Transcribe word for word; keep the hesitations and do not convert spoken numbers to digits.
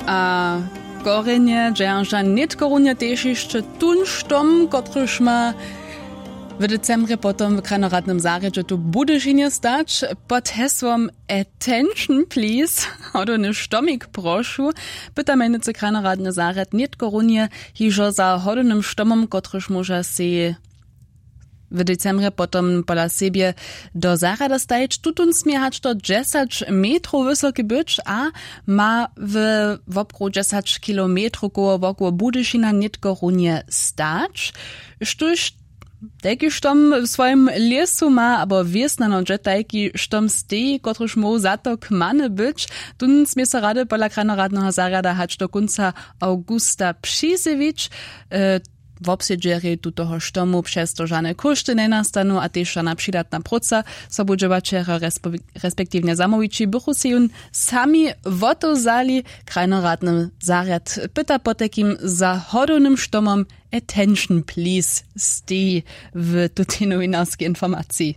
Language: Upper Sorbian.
A korjenje dźerža nětko runje tež hišće tón štom, kotryž ma w decembrje potom w krajnoradnym zarjedźe tu w Budyšinje stać pod hesłom Attention please, hodowny štomik prošu. Pyta mjenujcy krajnoradny zarjad nětko runje hižo za hodownym štomom, kotryž móža sej w decembrje potom pola sebje do zarjada stajić. Tutón smě hač do dźesać metrow wysoki być a ma w wobkruh dźesać kilometrow koło wokoło Budyšina nětko runje stać. Štóž tajki štom w swojim lěsu ma abo wěsnano dźe tajki štom steji, kotryž móhł za to kmany być, tón smě so rady pola krajnoradneho zarjada hač do kónca awgusta přizjewić. Wobsedźerjej tutoho štomu přez to žane kóšty njenastanu a tež žana přidatna próca. Sobudźěłaćerjo respektiwnje zamołwići bychu sej jón sami wotewzali. Krajnoradny zarjad pyta potajkim za hodownym štomom Attention please steji w tutej nowinarskej informaciji.